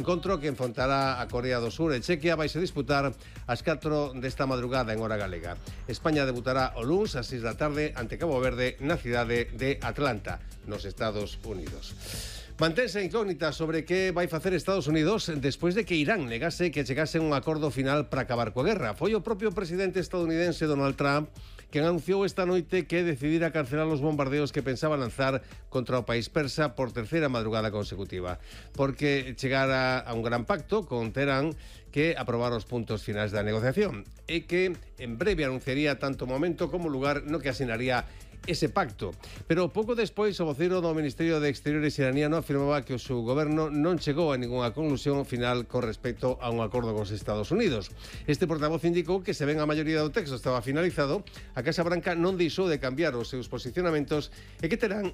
Encontro que enfrontará a Corea do Sur e Chequia vai se disputar ás 4 desta madrugada en hora galega. España debutará o luns ás 6 da tarde ante Cabo Verde na cidade de Atlanta, nos Estados Unidos. Mantense incógnita sobre que vai facer Estados Unidos despois de que Irán negase que chegase un acordo final para acabar coa guerra. Foi o propio presidente estadounidense Donald Trump que anunciou esta noite que decidira cancelar os bombardeos que pensaba lanzar contra o país persa por terceira madrugada consecutiva, porque chegara a un gran pacto con Teherán que aprobar os puntos finais da negociación e que en breve anunciaría tanto o momento como o lugar no que asinaría ese pacto. Pero pouco despois o voceiro do Ministerio de Exteriores iraniano afirmaba que o seu goberno non chegou a ningunha conclusión final con respecto a un acordo cos Estados Unidos. Este portavoz indicou que se ben a maioría do texto estaba finalizado, a Casa Branca non deixou de cambiar os seus posicionamentos e que Teherán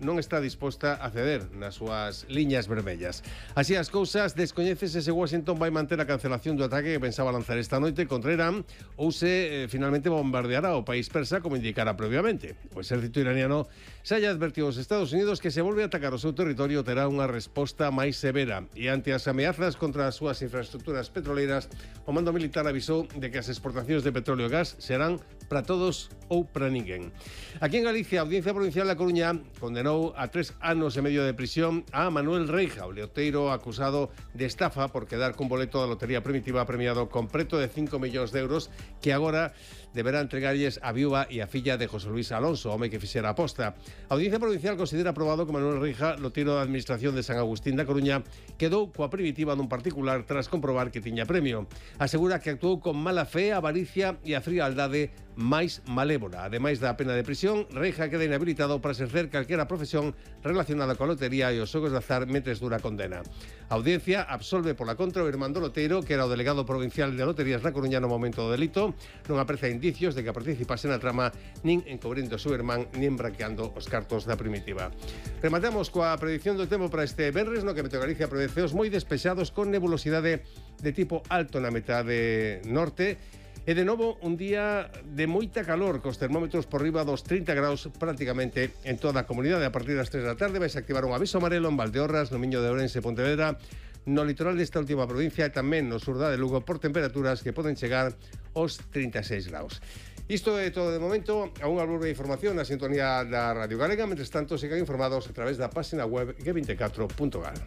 non está disposta a ceder nas súas liñas vermellas. Así as cousas, descoñécese se Washington vai manter a cancelación do ataque que pensaba lanzar esta noite contra Irán ou se finalmente bombardeará o país persa como indicara previamente. O exército iraniano xa lle advertiu aos Estados Unidos que se volve a atacar o seu territorio terá unha resposta máis severa e ante as ameazas contra as súas infraestructuras petroleiras, o mando militar avisou de que as exportacións de petróleo e gas serán para todos ou para ninguén. Aquí en Galicia, a Audiencia Provincial da Coruña condenou a 3 anos e medio de prisión a Manuel Reija, o leoteiro acusado de estafa por quedar cun boleto da lotería primitiva premiado con preto de 5 millóns de euros que agora deberá entregarlles a viúva e a filla de José Luis Alonso, home que fixera a aposta. A Audiencia Provincial considera aprobado que Manuel Reija, loteiro da Administración de San Agustín da Coruña, quedou coa primitiva dun particular tras comprobar que tiña premio. Asegura que actuou con mala fe, avaricia e a frialdade máis malévola. Ademais da pena de prisión, Reija queda inhabilitado para exercer calquera profesión relacionada coa lotería e os xogos de azar mentres dura a condena. A audiencia absolve pola contra o irmán do loteiro, que era o delegado provincial de loterías na Coruña no momento do delito. Non aprecia indicios de que participase na trama, nin encubrindo o seu irmán, nin branqueando os cartos da primitiva. Rematamos coa predicción do tempo para este venres, no que Meteo Galicia prevé ceos moi despexados con nebulosidade de tipo alto na metade norte. E de novo un día de moita calor, cos termómetros por riba dos 30 graus prácticamente en toda a comunidade. A partir das 3 da tarde vais a activar un aviso amarelo en Valdeorras, no Miño de Ourense e Pontevedra, no litoral desta última provincia e tamén no sur da de Lugo por temperaturas que poden chegar aos 36 graus. Isto é todo de momento. A unha breve información na sintonía da Radio Galega. Mentres tanto, sigan informados a través da página web g24.gal.